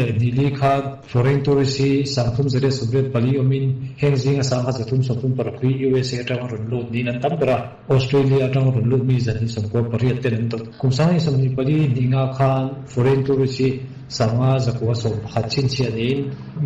leh hnih li khan foreign tourist hi 384 awmin heng zinga 1336 hi USA atanga rawn lut niin an tam ber a, Australia atanga rawn lut mi 298 ten an dawt. Kum 2024 hnih nga khan foreign tourist hi 5911 chhinchhiah niin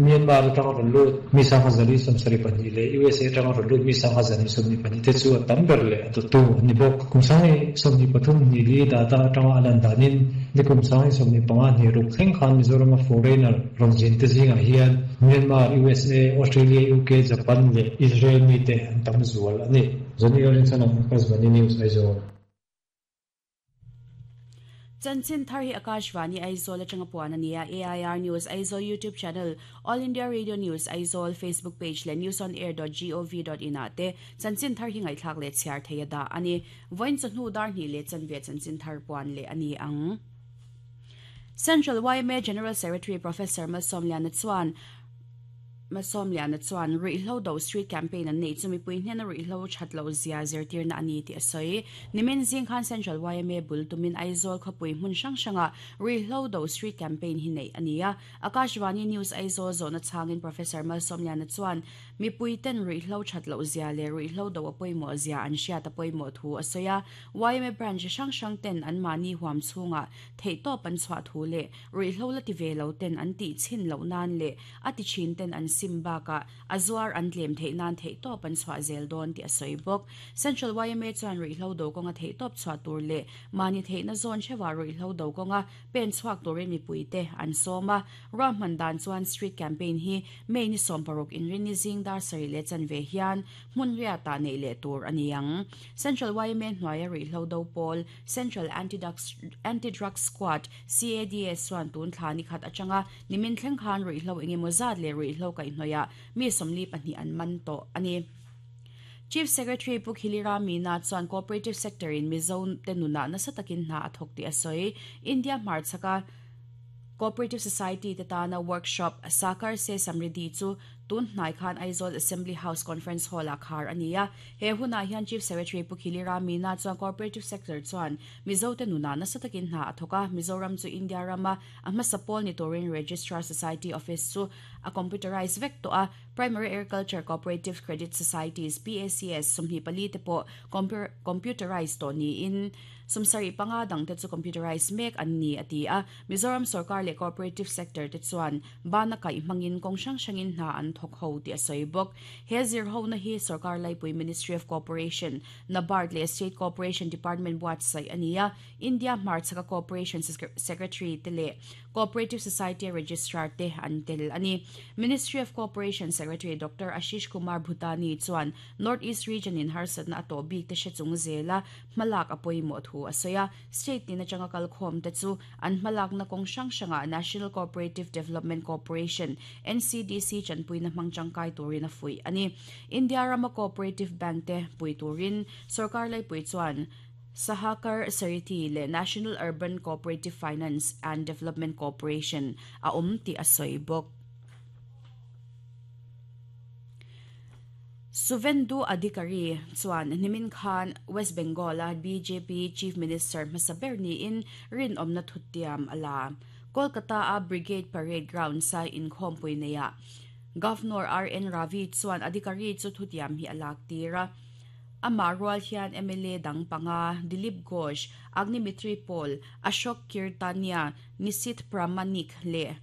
Myanmar atanga rawn lut mi 1472 leh USA atanga rawn lut mi 1222 te chu a tam ber leh a dawttu an ni bawk. Kum 2023 hnih li data atanga a lan danin nikum 2025 hnih ruk thleng khan Mizorama foreigner rawn zin te zingah hian Myanmar, USA, Australia, UK, Japan leh Israel mite an tam zual a ni. Johnny Lalrinchhana, Akashvani News, Aizawl. Chanchin thar hi Akashvani Aizawl atanga puan a ni a, AIR News Aizawl YouTube channel, All India Radio News Aizawl Facebook page leh newsonair.gov.in ah te chanchin thar hi ngaihthlak leh chhiar thei a dah a ni. Vawiin chawhnu dar hnih leh chanve chanchin thar puan leh a ni ang. Central yma General Secretary Professor Malsawmliana chuan Malsawmliana chuan ruihhlo do street campaign an neih chu mipui hnena ruihhlo that loh zia zirtirna a ni tih a sawi. Nimin zing khan Central yma bul tumin Aizawl khawpui hmun hrang hrangah ruihhlo do street campaign hi neih a ni a. Akashvani News Aizawl zawhna chhangin Professor Malsawmliana chuan mipui ten ruihhlo that loh zia leh ruihhlo do a pawimawh zia an hriat a pawimawh thu a sawi a. Yma branch hrang hrang ten anmahni huam chhungah theihtawp an chhuah thu leh ruihhlo la ti ve lo ten an tih chhin loh nan leh a ti thin ten an sim bakah a zuar an tlem theih nan theihtawp an chhuah zel dawn tih a sawi bawk. Central yma chuan ruihhlo do kawnga theihtawp chhuah tur leh mahni theihna zawn theuhah ruihhlo do kawnga pen chhuak turin mipuite an sawm a. Ruahman dan chuan street campaign hi May ni 16 inrinni zing dar sarih leh chanve hian hmun riatah neih leh tur a ni ang. Central yma hnuaia ruihhlo do pawl Central Anti-Drug Squad, CADS, chuan tun thla ni khat atanga nimin thleng khan ruihhlo engemaw zat leh ruihhlo kaihhnawihah mi 42 an man tawh a ni. Chief Secretary Pu Khilira Meena chuan Cooperative Sector in Mizo te nunah nasa takin hna a thawk tih a sawi. India hmarchhaka Cooperative Society te tana workshop Sakar Se Samriddhi chu tun hnai khan Aizawl Assembly House Conference Hall-ah khar a ni a. He hunah hian Chief Secretary Pu Khilira Meena chuan Cooperative Sector chuan Mizote nunah nasa takin hna a thawk a, Mizoram chu India rama a hmasa pawl ni turin Registrar Society Office chu a computerise vek tawh a, Primary Agriculture Cooperative Credit Societies, PACS, 24 te pawh computerise tawh niin 75 dangte chu computerise mek an ni, a ti a. Mizoram sorkar leh cooperative sector te chuan bana kaih hmangin kawng hrang hrangin hna an thawk ho tih a sawi bawk. He zirhona hi sorkar laipui Ministry of Cooperation, NABARD leh State Cooperation Department buatsaih a ni a, India hmarchhaka Cooperation Secretary te leh Cooperative Society Registrar te an tel a ni. Ministry of Cooperation Secretary Doctor Ashish Kumar Bhutani chuan North East Region in harsatna a tawh bik te hre chung zela hmalak a pawimawh thu a sawi a. State tin atanga kalkhawm te chu an hmalakna kawng hrang hrangah National Cooperative Development Corporation, NCDC, chanpuina hmang tangkai turin a fuih a ni. India rama cooperative bank te pui turin sorkar laipui chuan Sahakar Sarithi leh National Urban Cooperative Finance and Development Corporation a awm tih a sawi bawk. Suvendu Adhikari chuan nimin khan West Bengal-a bjp Chief Minister hmasa ber niin rinawmna thutiam a la. Kolkata-a Brigade Parade Grounds-a inkhawmpui neiah Governor RN Ravi chuan Adhikari chu thutiam hi a lak tir a. Amah rual hian mla dang panga Dilip Ghosh, Agnimitri Paul, Ashok Kirtania, Nisith Pramanik leh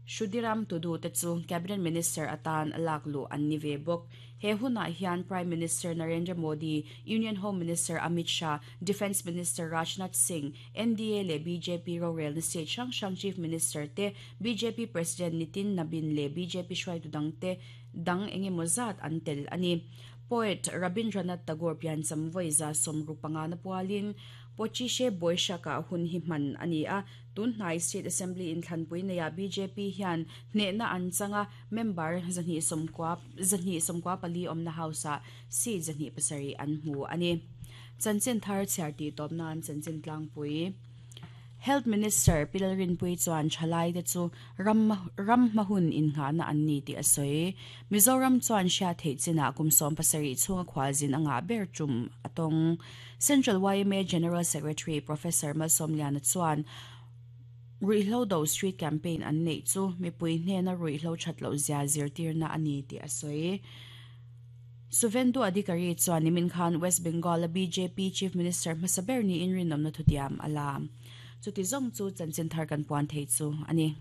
Shudiram Tudu te chu Cabinet Minister atan lak luh an ni ve bawk. He hunah hian Prime Minister Narendra Modi, Union Home Minister Amit Shah, Defence Minister Rajnath Singh, NDA leh bjp rorelna state hrang hrang Chief Minister te, bjp President Nitin Nabin leh bjp hruaitu dangte dang engemaw zat an tel a ni. Poet Rabindranath Tagore piancham vawi 65 na pualin Pochishe Boishak-ah hun hi hman a ni a. Tunhnai State Assembly inthlanpui neiah bjp hian hnehna an chang a, member 290 294 awmna House-ah seat 207 an hmu a ni. Chanchin thar chhiar tih tawp nan chanchin tlangpui. Health Minister Pi Lalrinpuii chuan thalaite chu ram ram hma hun innghahna an ni tih a sawi. Mizoram chuan hriat theih chinah kum 17 chhunga khualzin a ngah ber tum a tawng. Central yma General Secretary Professor Malsawmliana chuan. Ruihhlo do street campaign an neih chu mipui hnena ruihhlo that loh zia zirtirna a ni tih a sawi. Suvendu Adhikari chuan nimin khan West Bengal-a bjp Chief Minister hmasa ber niin rinawmna thutiam a la. Chuti zawng chu chanchin thar kan puan thei chu a ni.